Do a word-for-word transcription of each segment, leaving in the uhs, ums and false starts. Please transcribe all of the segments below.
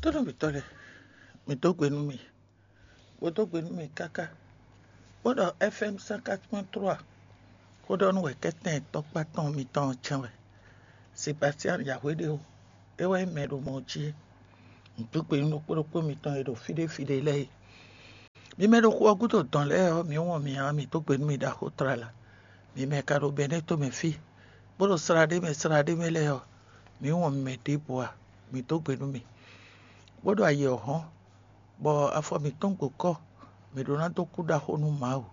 Xwénɔ mǐtɔn lɛ́ɛ, mǐ dó gbe nú mì, bó dó gbe nú mì káká, bó ɖɔ F M cent quatre point trois xó ɖɔ nú wɛ̌kɛ́tɛn tɔkpá tɔn mitɔn ɔ́ cɛ́n wɛ. Sebastian Yahweh ɖe ó, é wɛ nyí mɛ e ɖo mɔ ɔ́ jí é. Mǐ dó gbe nú ɖokpó ɖokpó mitɔn e ɖo fí ɖé fí ɖé lɛ́ɛ é. Mi mɛ ɖo xu ɔ́ gúdo dɔn lɛ́ɛ ɔ́, mǐ wɔn mi ǎ, mǐ dó gbe nú mi ɖaxó tlala. Mi mɛ ka ɖo Bɛnɛ́ tomɛ fí, bó ɖo slá ɖé mɛ slá ɖé mɛ lɛ́ɛ ɔ́, mǐ wɔn mi mɛ ɖěbǔ ǎ, mǐ dó gbe nú mi, bó ɖo ayǐ ɔ́ hɔ́n, bɔ afɔ mǐtɔn gbo kɔ́, mǐ ɖó ná dó kú ɖaxó nú Mawu,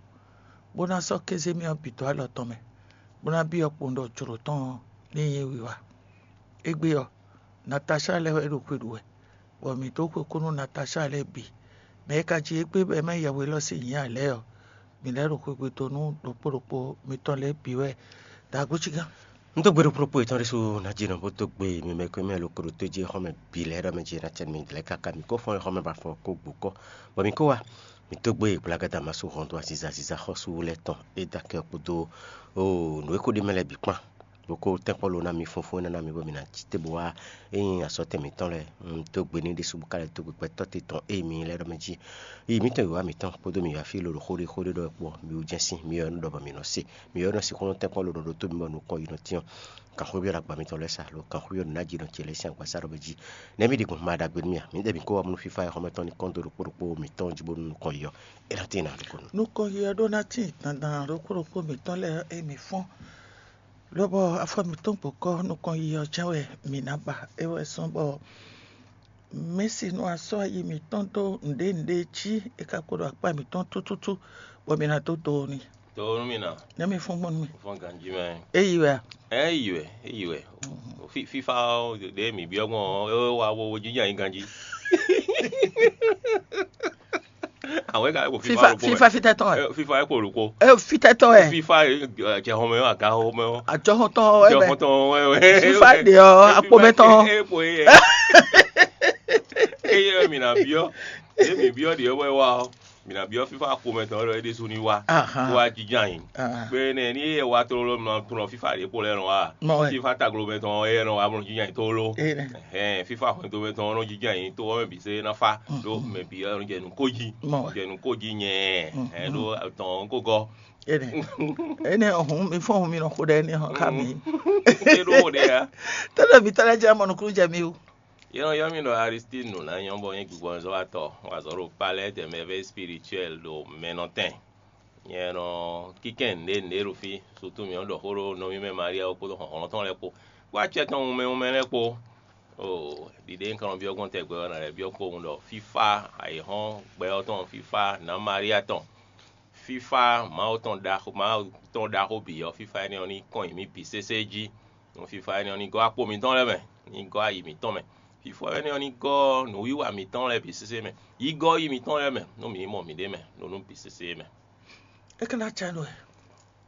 bó ná sɔ́ kéze mì ɔ́ bǐ dó alɔ tɔn mɛ, bó ná byɔ́ kpowun ɖɔ jlǒ tɔn ɔ́ ní nyí wiwa. Égbé ɔ́, Natasáa lɛ́ɛ wɛ ɖo xwe ɖu wɛ, bɔ mǐ dó xwekú nú Natasáa lɛ́ɛ bǐ. Mɛ e ka ji égbé bɔ é má nyí yɛhwe élɔ́ sín nyǐ ǎ lɛ́ɛ ɔ́, mǐ lɛ́ ɖo xwegbe dó nú ɖokpó ɖokpó mitɔn lɛ́ɛ bǐ wɛ ɖo agbócígán. Un dó gbe ɖokpó ɖokpó yětɔn ɖésú ná jí nɔ bó dó gbe mi mɛ e mɛ lo ko ɖo tó jí xɔ́mɛ bǐ lɛ́ɛ ɖɔ mɛ jí ná cɛ mi lɛ́ɛ káká mi kó fɔ́n xɔ́mɛ ba fɔ kó gbǒ kɔ́, bɔ mi kó wá mi dó gbe gblagáda masu hɔn dó aziza aziza xɔ́sú lɛ́ɛ tɔn e dó akɛ ɔ́ kpódó nǔ e ko ɖ'é mɛ lɛ́ɛ bǐ kpán. Bó kó tɛ́nkpɔ́ lo ná mi fúnfún énɛ́ ná mi bɔ mi ná cí te bó wá é nyí azɔ̌tɛn mǐtɔn lɛ́ɛ. Un dó gbe n'i ɖésú bó ka lɛ́ dó gbe gbɛtɔ́ te tɔn ée mi nyí lɛ́ɛ ɖɔ mɛ jí. Yi mǐtɔn wěwá mǐtɔn kpódó mǐ wá fí lolo xóɖéxóɖé ɖɔ kpɔ mi wú jɛ́n sín mi ɔ́ nɔ ɖɔ bɔ mǐ nɔ se. Mi ɔ́ nɔ sixú nɔ tɛ́nkpɔ́ lo ɖɔ ɖó tó mi bɔ nukɔn yi nɔ tyɔ́n. Kan xwé byɔ́ ɖo agba mitɔn lɛ́ɛ sa lo kan xwé byɔ́ ɖo nǎ jí nɔ ce lɛ́ɛ sín agbaza ɖɔ mɛ jí. Nɛ̌ mi ɖi gbɔn ma ɖagbe nú mì a? Mi ɖe mi kó wá mú fífá e xɔmɛ tɔn ní kɔn dó ɖokpó ɖokpó mǐtɔn jí bónú nukɔn yi ɔ́, é ná tín ná ɖokpónú. Nukɔn yi ɔ́ ɖó ná tín dandan ɖokpó ɖokpó mǐtɔn lɛ́ɛ é mi fɔ́n. Lobɔ afɔ mǐtɔn gbokɔ nukɔn yi ɔ́ jɛ́n wɛ mǐ ná ba. É wɛ sɔ́ bɔ mɛ̌si nɔ asɔ́ ayi mǐtɔn dó nǔɖé nǔɖé jí é ka kpo ɖo akpá mǐtɔn tútútú, bɔ mǐ ná dó do n'i. Dó nú mì ná. Nɛ́ mi fɔ́n gbɔn nú mì. Fɔ́n ganjí mɛ. É yi wɛ a? Ɛ yi wɛ, é yi wɛ. Fí- Fífá ɔ́, ɖě mǐ byɔ́ gbɔn ɔ́, é wá wo jínjɔ́n ayǐ ganjí. Àwọn ẹ̀ka kò fífá Fífa ló kó fífa mẹ́. Fítɛ́tɔ́ wɛ. Ẹ, Fífá ẹ̀ kò ló kó. Ẹ fítɛ́tɔ́ wɛ. Fífá ẹ̀, jẹ̀hɔnmẹ́ ɔ́, àgáhɔnmẹ́ ɔ́. Àjọhɔntɔn wɛ bɛ. Jẹ̀hɔntɔn wɛ wɛ. Fífá ɖe ɔ́, akpomɛtɔn. Ẹ kò yẹ. Eye mǐ ná byɔ́. Eye mǐ byɔ́ ɖě wɛ wá ɔ́. Mǐ ná byɔ́ fífá akpomɛtɔn lɔ é ɖésú ní wá. Aha. Wá jínjɔ́n ayǐ. Ah. Kpé nɛ ní e wa tlóló mlɔ tlɔ fífá ɖě kpo lɛ́ɛ nɔ wá. Mɔ wɛ. Fífá taglomɛ tɔn é nɔ wá mlɔ jínjɔ́n ayǐ tlóló. Ene. Ɛhɛn, fífá hwɛndo mɛ tɔn nɔ jínjɔ́n ayǐ tó ɔ́ mɛ bǐ sé ná fá. Ɖó mɛ bǐ ɔ́ nɔ jɛ nǔ kó jí. Mɔ wɛ. Jɛ nǔ kó jí nyɛ. Ɛhɛn, ɖó tɔn kó gɔ́. Ene. Ene ɔhun mi fɔn mi nɔ xo ɖe ene hɔn ka mi. É ɖó xo ɖe ya. Tɛ́lɛ mi tɛ́lɛ jẹ́ mɔ nukúnnú jɛ mi o. Yɛ nɔ yɔ mì ɖɔ Aristide nǔ ná nyɔ́ bɔ nyí gbigbɔnzɔ́watɔ́, wazɔ̌ ɖo palais des merveilles spirituelles ɖo mɛnɔtɛn. Nyɛ nɔ kíkɛn nǔɖé nǔɖé ɖo fí, sutu mǐ nɔ ɖɔ xó ɖó nɔví mɛ Maria kpódó hlɔ̌nhlɔ́n tɔn lɛ́ɛ kpó, kpó acɛ tɔn wunmɛ wunmɛ lɛ́ɛ kpó. Oo, ɖiɖe un ka nɔ byɔ́ gbɔn tɛ gbɛ ɔ́ ná lɛ́ byɔ́ kpowun ɖɔ fífá ayǐhɔ́n gbɛ ɔ́ tɔn, fífá nǎ Maria tɔn, fífá Mawu tɔn ɖaxó Mawu tɔn ɖaxó bǐ ɔ́, fífá énɛ́ ɔ́ ní kɔn nyi mǐ bǐ sésé jí. Nú fífá énɛ́ ɔ́ ní gɔ́ akpo mǐtɔn lɛ́ɛ mɛ, ní gɔ́ ayi mǐtɔn mɛ. Fífá énɛ́ ɔ́ ní gɔ́ nǔwiwa mǐtɔn lɛ́ɛ bǐ sésé mɛ. Yi gɔ́ yi mǐtɔn lɛ́ɛ mɛ, nú mǐ mɔ mǐɖée mɛ, ɖo nǔ bǐ sésé mɛ. É ka ná ca nú ɛ.